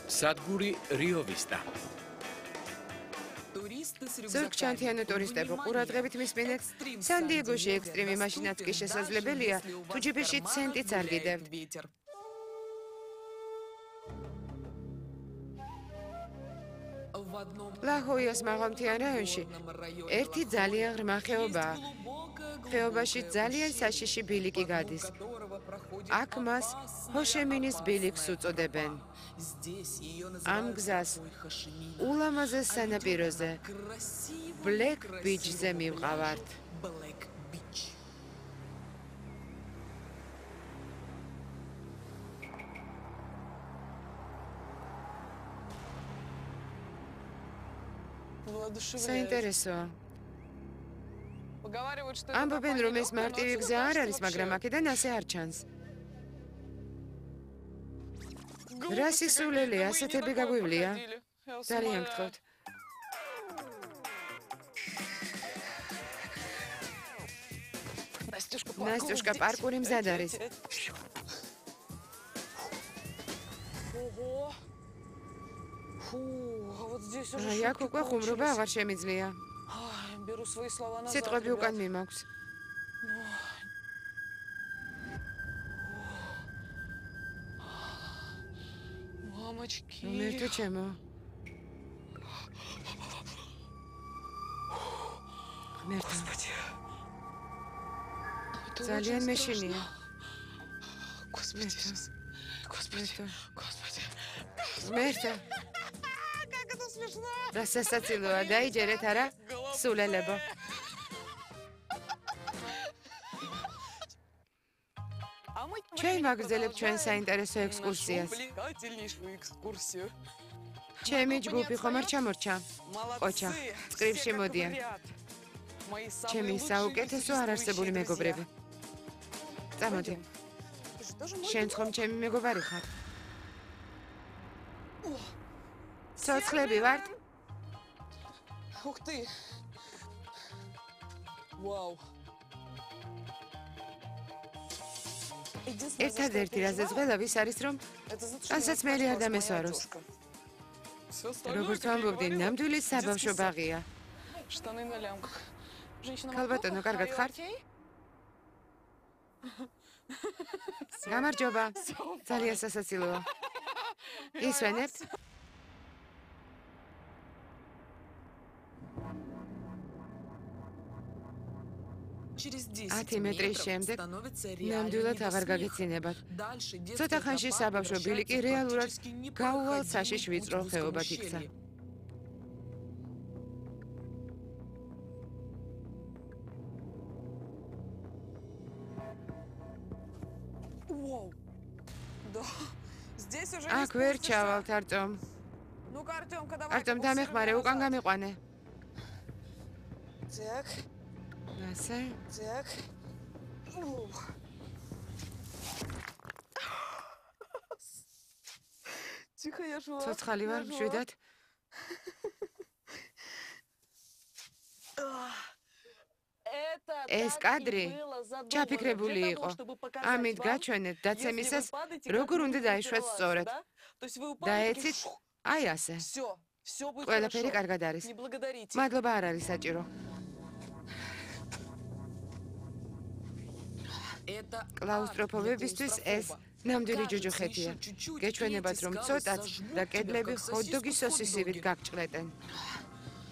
სადგური Rio Vista. ზურგჩანთიანო ტურისტებო ყურადღებით მისმენთ, სან-დიეგოში ექსტრიმი მაშინაც კი შესაძლებელია, თუ ჯიბეში ცენტიც არ გიდევთ. ლა-ჰოიას მაღალმთიან რაიონში ერთი ძალიან ღრმა ხეობაა. ხეობაში ძალიან საშიში ბილიკი გადის. აქ მას ჰოშემინის ბილიკს უწოდებენ. ამ გზას ულამაზეს სანაპიროზე ბლეკ ბიჩზე მივყავართ. საინტერესოა. ამბობენ, რომ ეს მარტივი გზა არ არის, მაგრამ აქედან ასე არ ჩანს. რა სისულელე, ასეთები გაგვივლია? ძალიან გთხოვთ. ნასტიუშკა, პარკური მზად არის. აი, აქ უკვე ხუმრობა აღარ შემიძლია. სიტყვები უკან მიმაქვს. მერტო ჩემო. მერტო. ძალიან მეშინია. მერტო. რა სასაცილოა, დაიჯერეთ არა? სულელებო. ჩვენ ვაგრძელებთ ჩვენ საინტერესო ექსკურსიას. ჩემი ჯგუფი ხომ არ ჩამორჩა? ყოჩა, წყრიფში მოდიან. ჩემი საუკეთესო არარსებული მეგობრები. წამოდი. შენც ხომ ჩემი მეგობარი ხარ? ცოცხლები ვართ? Ух ты! Вау! ერთადერთი რაზეც ღელავის არის, რომ ტანსაცმელი არ დამესვაროს. როგორც ვამბობდი, ნამდვილი საბავშვო ბაღია. ქალბატონო, კარგად ხართ? გამარჯობა. ძალიან სასაცილოა. ისვენებთ? 10 მეტრის შემდეგ ნამდვილად აღარ გაგეცინებათ. ცოტა ხანში საბავშვო ბილიკი რეალურად გაუვალ საშიშ ვიწრო ხეობად იქცა. აქ ვერ ჩავალთ, არტომ. არტომ, დამეხმარე, უკან გამიყვანე. ასე. ცოცხალი ვარ, მშვიდად. ეს კადრი ჩაფიქრებული იყო. ამით გაჩვენეთ დაცემისას, როგორ უნდა დაიშვათ სწორად. დაეცით, აი ასე. ყველაფერი კარგად არის. მადლობა არ არის საჭირო. კლაუსტროფობებისთვის ეს ნამდვილი ჯუჯუხეთია. გეჩვენებათ, რომ ცოტაც და კედლები ჰოთ-დოგის სოსისივით გაგჭყლეტენ.